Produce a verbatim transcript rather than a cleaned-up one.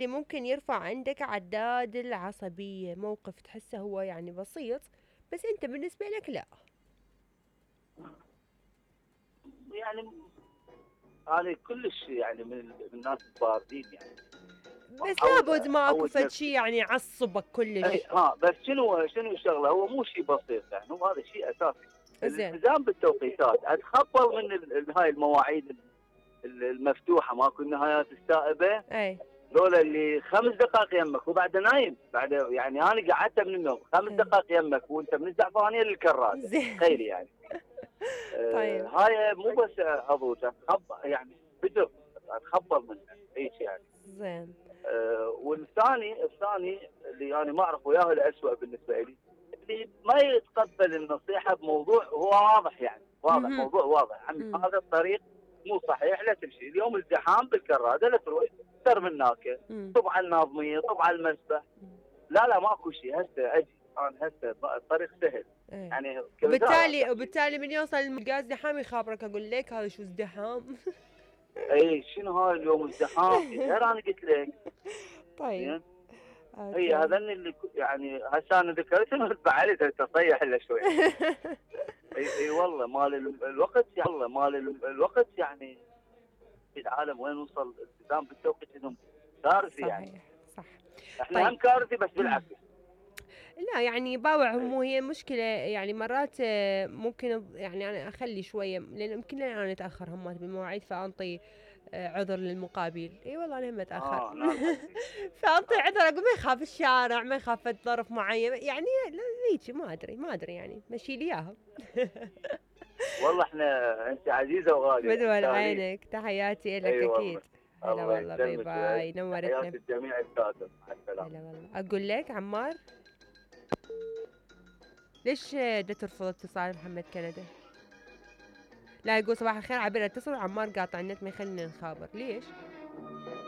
اللي ممكن يرفع عندك عداد العصبية، موقف تحسه هو يعني بسيط بس انت بالنسبة لك لا. يعني انا كلش يعني من من الناس الباردين يعني. بس احاول لابد ما اكو اعود فد شي نفسي. يعني يعصبك اي كلش. ها بس شنو شنو الشغله، هو مو شيء بسيط يعني، هو هذا شيء اساسي. زين. الالتزام بالتوقيتات، اتخبر من ال- ال- هاي المواعيد ال- المفتوحه، ماكو النهايات السائبه. اي. ذولا اللي خمس دقائق يمك وبعد نايم، بعد يعني انا قعدت من النوم خمس اي. دقائق يمك وانت من الزعفرانيه للكراده، زين. تخيلي يعني. آه طيب. هاي مو بس اضوج، اتخبر يعني بدر، اتخبر منها هيك يعني. زين. آه والثاني الثاني اللي انا ما اعرف وياه الاسوء بالنسبه لي، اللي ما يتقبل النصيحه بموضوع هو واضح يعني، واضح مهم. موضوع واضح، عمي مم. هذا الطريق مو صحيح، لا تمشي اليوم ازدحام بالكراده، لا تروح سر من هناك، مم. طب على الناظميه، طب على المسبح. لا لا ماكو شيء، هسه اجي انا هسه الطريق سهل ايه. يعني، كوزاره وبالتالي تحكي. وبالتالي من يوصل الملقا ازدحام يخابرك، اقول لك هذا شو ازدحام. اي شنو هاي اليوم ازدحام، غير انا قلت لك. طيب. زين. هي اوكي. هذني اللي ك- يعني هسه انا ذكرتهم بعد تصيح الا شوي. اي اي والله مال ال- الوقت يعني، والله مال ال- الوقت يعني في العالم وين وصل الالتزام بالتوقيت انهم كارثي يعني. صحيح. صح. احنا طيب. هم كارثي بس بالعكس. لا يعني باوع اي هم، هي مشكلة يعني مرات آه، ممكن أض- يعني أنا أخلي شوية لأن يمكن أنا أتأخر همات بالمواعيد فأنطي آه، عذر للمقابل. اي والله أنا هم أتأخر. اه نعم حسين. فأنطي آه. عذر، أقول ما يخاف الشارع، ما يخاف ظرف معين يعني. لا هيك ما أدري ما أدري يعني مشي لي إياها. والله احنا انت عزيزه وغاليه بدول تستاهلين. عينك، تحياتي لك اي والله. أكيد. هلا الله والله، باي يسلمك. باي، نورتنا. تحياتي الجميع الكاتب، مع السلامه. هلا والله. أقول لك عمار، ليش آه، دا ترفض اتصال محمد كندا؟ لا يقول صباح الخير، عبير اتصل وعمار قاطع النت ما يخلينا نخابر، ليش؟